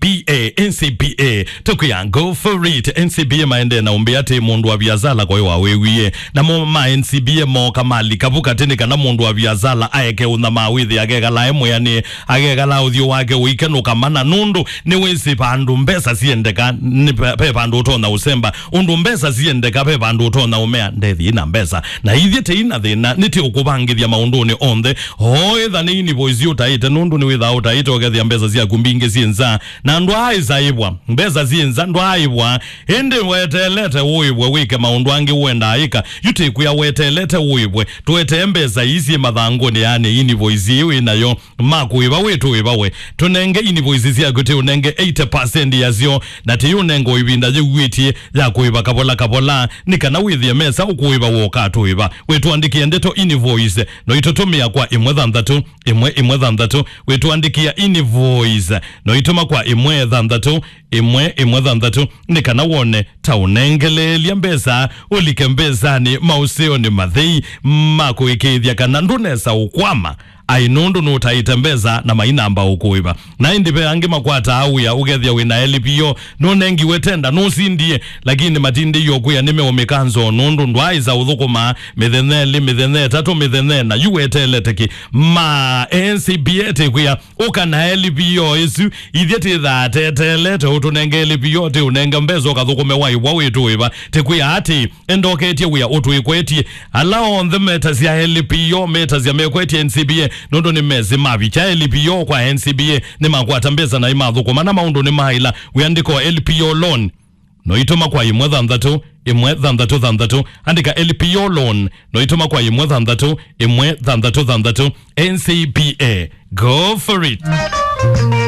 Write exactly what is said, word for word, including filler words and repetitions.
P A, N C P A, tũkwĩa go for it. N C P A maendee na ũmbĩa atĩ mũndũ wa viasala koĩ wa wĩwie. Namo ma N C P A mooka malika vu katĩ nĩ kana mũndũ wa viasala aeke ũnyamaa wĩthĩ akekala e mwĩanĩe, akekala ũthyũ wake ũikenũka mana nũndũ nĩwĩsĩ vandũ mbesa siendeka, nĩ ve, ve vandũ ũtonya ũsemba. Ũndũ mbesa siendeka, ve vandũ ũtonya ũmea, "Ndethĩ ina mbesa." Na ithyĩ tĩ ina thĩna, nĩtĩ ũkũvangĩthya maũndũnĩ onthe. O ĩtha nĩ invoice ũtaĩte, nũndũ nĩwĩthaa ũtaĩte ũkethĩa mbesa syaku mbingĩ syĩ nza. Na ndwaaĩsa ĩvwa, mbesa syĩ nza, ndwaaĩvwa. Ĩndĩ weteelete ũĩvwe wĩke maũndũ angĩ ũendaa ĩka. Yu tĩkwĩa weteelete ũĩvwe. Tũetee mbesa ii syĩ mathangũnĩ, yaani invoice ĩĩ wĩ nayo. Ma kũĩva wĩ tũĩva we. Tũnenge invoice syaku, tĩ ũnenge eighty percent yasyo, na tĩ ũnenge o ĩvinda yĩuĩtye ya kũĩva kavola kavola, nĩ kana wĩthĩe mesa ũkũĩva woka tũĩva. Wĩtũandĩkĩe ndeto invoice, no itũtũmĩa kwa ĩmwe thanthatũ, ĩmwe ĩmwe thanthatũ. Wĩtũandĩkĩa invoice, no itũma kwa ĩmwe thanthatũ, ĩmwe ĩmwe thanthatũ, nĩ kana wone ta ũnengeleelya mbesa, ũlike mbesanĩ maũseonĩ mathei ma kũĩkĩĩthya kana ndũnesa ũkwama. Ai, nũndũ nũtaĩte mbesa na mainamba ũkũĩva. Na ĩndĩ ve angĩ makwataa wĩa, ũkethĩa wĩ na L P O, nũnengiwe tenda, nũsindie, lakini matindĩie ũkwĩa nĩmeũmĩka nzoo nũndũ ndwaaĩsa ũthũkũma mĩthenya ĩlĩ, mĩthenya ĩtatũ, mĩthenya ĩna, yu weteelete kĩ? Ma N C P A tĩkwĩa, ũka na L P O ĩsu, ithyĩ tĩthaa teteelete ũtũnenge L P O, tĩ ũnenge mbesa ũkathũkũme waĩvwa wĩ tũĩva. Tĩkwĩa atĩ, endoketye wĩa ũtwĩkwetye. Ala onthe metasya L P O, metasya mekwetye N C P A, nũndũ nĩmesĩ mavikya L P O kwa N C P A, nĩmakwata mbesa na imathũkũma na maũndũ nĩmaĩla. Wĩandĩko L P O loan, no itũma kwa ĩmwe thanthatũ, ĩmwe thanthatũ thanthatũ. Andĩka L P O loan, no itũma kwa ĩmwe thanthatũ, ĩmwe thanthatũ thanthatũ. N C P A, go for it.